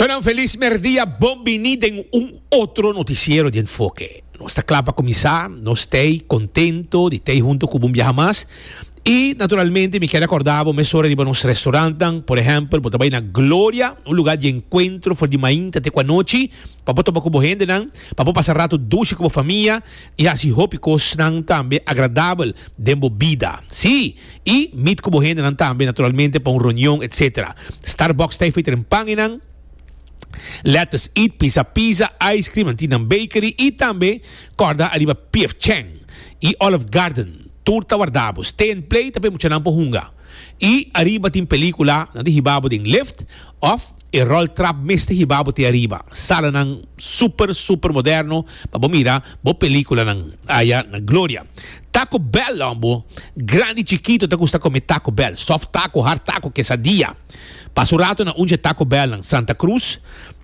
Shonan felis merdia, bon bini den un otro noticiero di Enfoke. Nos ta kla pa kuminsá, nos t'ei kontento di t'ei hunto ku bo un biaha mas. I naturalmente mi kier rekordá bo mesora riba nos restaurantnan, por ehèmpel bo ta bai na Gloria, un lugá di enkuentro for di mainta te ku anochi, pa bo topa ku bo hendenan, pa bo pasa rato dushi ku bo famia i hasi hopi kosnan tambe agradabel den bo bida. Sí! I meet ku bo hendenan tambe naturalmente pa un reunion etc. Starbucks ta e feita den pan einan. Let us eat, pizza pizza, ice cream, nan tin nan bakery i tambe kòrda ariba PF Chang i Olive Garden. Tur ta warda bo. Stay and play ta pa e muchanan por hunga. I ariba tin pelikula, nan ta hiba bo den lift òf e roltrap mes ta hiba bo te ariba. Salanan super super moderno pa bo mira bo pelikulanan aya na Gloria. Taco Bell lon bo grandi chikito ta gusta come Taco Bell, soft taco, hard taco, quesadilla. Pasa un rato na un dje Taco Bellnan, Santa Cruz,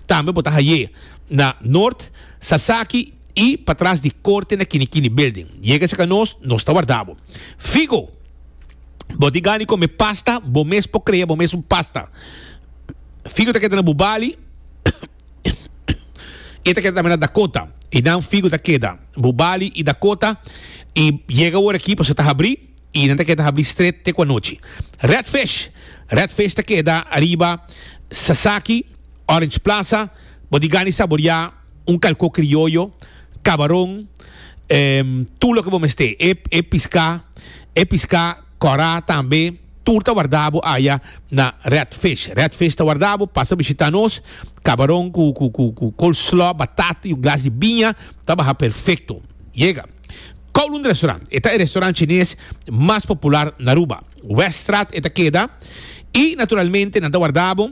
tambe bo ta haye na Noord, Sasaki y patras di Corte na Kinikini Building. Yega cerca nos, nos ta warda bo. Figo, bo tin gana di come pasta, bo mes por crea bo mes un pasta. Figo ta keda na Bubali. E ta keda tambe na Dakota. Einan Figo ta keda. Bubali i Dakota. I yega ora aki pasobra ta habrí i nan ta keda habrí stret te ku anochi. Red Fish. Red Fish ta keda ariba Sasaki, Orange Plaza. Bo di gana i saboriá un kalkó krioyo, kabaron, tur loke bo mester. E e piská, e piská kòrá tambe. Tur ta warda bo aya na Red Fish. Red Fish ta warda bo, pasa bishita nos. Cabaron cu cu cu cu coleslaw, batata y un glas di biña ta baha perfecto. Yega. Kowloon Restaurant, e ta e restaurant chines mas popular na Aruba. Weststraat e ta keda y naturalmente nan ta warda bo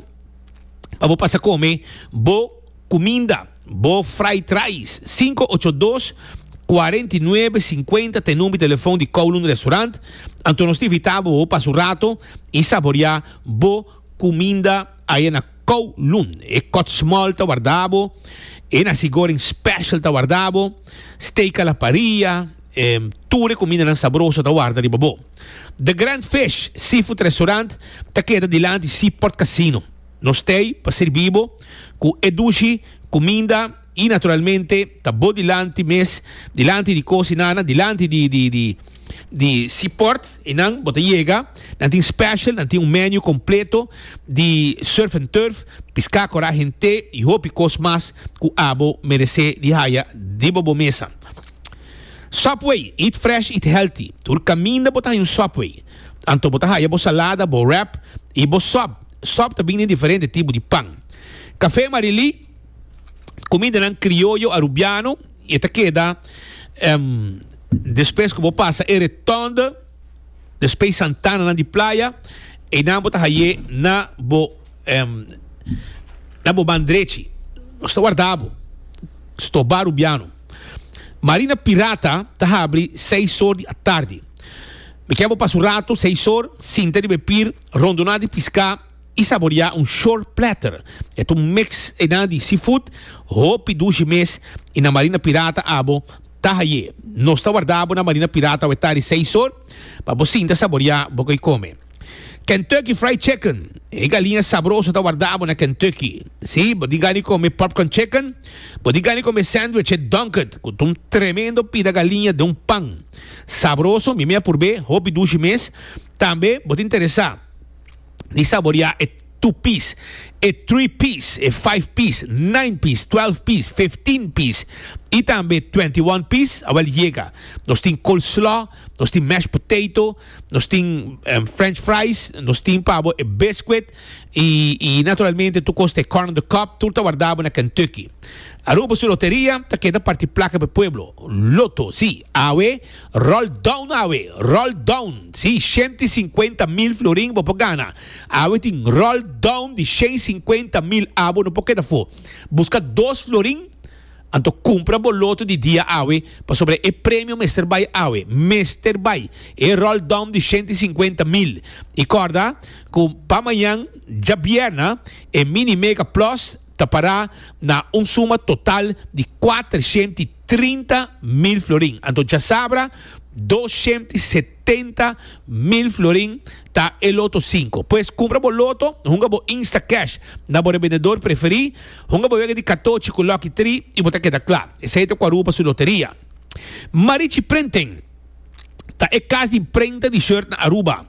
pa bo pasa come bo Cuminda, bo fried rice, cinco ocho dos, cuarenta y nuebe, cincuenta ta e number di telefon di Kowloon Restaurant. Anto nos ta invita bo bo pasa un rato y saborea bo cuminda aya na Kowloon. E kot small ta warda bo, e nasi goreng special ta warda bo, steak a la parilla, tur e cumindanan sabroso ta warda riba bo. The Grand Fish Seafood Restaurant ta keda dilanti Seaport Casino. Nos t'ei pa sirbi bo ku e dushi kuminda i naturalmente ta bo dilanti mes, dilanti di kos i nana, dilanti di di di di Seaport einan bo ta yega. Nan tin special, nan tin un menu kompleto di surf and turf, piská kora hent'é i hopi kos mas ku abo meresé di haya riba bo mesa. Subway, eat fresh, eat healthy. Tur kaminda bo ta haya un Subway. Anto bo ta haya bo salada, bo wrap i bo sub. Sòp ta bini den diferente tipo di pan. Café Marilí, kumindanan krioyo arubiano i e ta keda despues ku bo pasa e retonde despues Santananan di Playa, einan bo ta haye na bo na bo ban drechi. Nos ta warda bo. Stobá Rubiano. Marina Pirata ta habri seis or di atardi. Mi ke bo pasa un rato, seis or, sinta riba e pir, Rondoná di piská i saboriá un shore platter. E ta un mix einan di seafood, hopi dushi mes i na Marina Pirata abo ta haye. Nos ta warda bo na Marina Pirata awe tardi seis or pa bo sinta saboriá bo koi kome. Kentucky Fried Chicken, E galiña sabroso ta warda bo na Kentucky. Sí, bo tin gana di kome popcorn chicken, bo tin gana di kome sandwich e Dunked ku ta un tremendo pida galiña den un pan. Sabroso, mi mi a purb'é, hopi dushi mes. Tambe bo ta interesá di saboreá e two piece, e three piece, e five piece, nine piece, twelve piece, fifteen piece i tambe 21 piece? Awel yega. Nos tin coleslaw, nos tin mashed potato, nos tin french fries, nos tin pa bo e biscuit i i naturalmente tur kos ta e corn on the cob, tur ta warda bo na Kentucky. Aruba su loteria ta keda parti plaka pa e pueblo. Loto, sí, awe Roll down awe, roll down, sí, 150 mil florin bo por gana. Awe tin roll down di 150 mil, abo no por keda afó. Buska dos florin, anto kumpra bo loto di dia awe, pasobra e premio mester bai awe, mester bai. E roll down di 150 mil. I kòrda ku pa mañan djabièrna e mini mega plus ta pará na un suma total di 430 mil florin. Anto djasabra. 270,000 florin ta e Loto 5. Pues kumpra bo loto, hunga bo Instacash na bo rebendedor preferí, hunga bo wega di katochi ku Lucky Tree i bo ta keda kla. Esei ta ku Aruba su loteria. Marichi Printing ta e kas di imprenta di shirt na Aruba.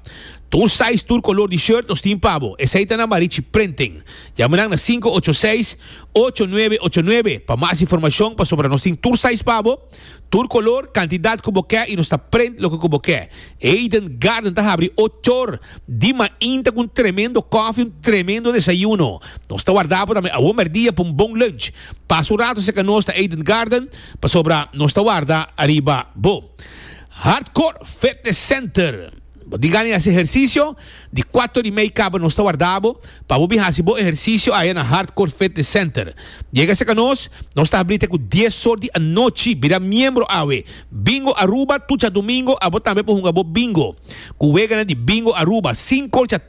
Tur size, tur kolor di shirt nos tin pa bo. Esei ta na Marichi Printing. Yama nan na 586 8989 pa mas informashon pasobra nos tin tur size pa bo. Tur color, cantidad cu bo ke y nos ta print loke cu bo ke. Eden Garden ta habri ochor di mainta cu un tremendo koffie, un tremendo desayuno. Nos ta warda bo tambe awor merdia pa un bon lunch. Pasa un rato cerca nos na Eden Garden pasobra nos ta warda ariba bo. Hardcore Fitness Center. Bo tin gana di hasi ehercicio? Di cuater y mei caba nos ta warda bo pa bo bin hasi bo ehercicio aya na Hardcore Fitness Center. Yega cerca nos, nos ta habri te cu dies or di anochi. Bira miembro awe. Bingo Aruba, tur djadomingo abo tambe por hunga bo bingo. Cu weganan di Bingo Aruba, sin colcha.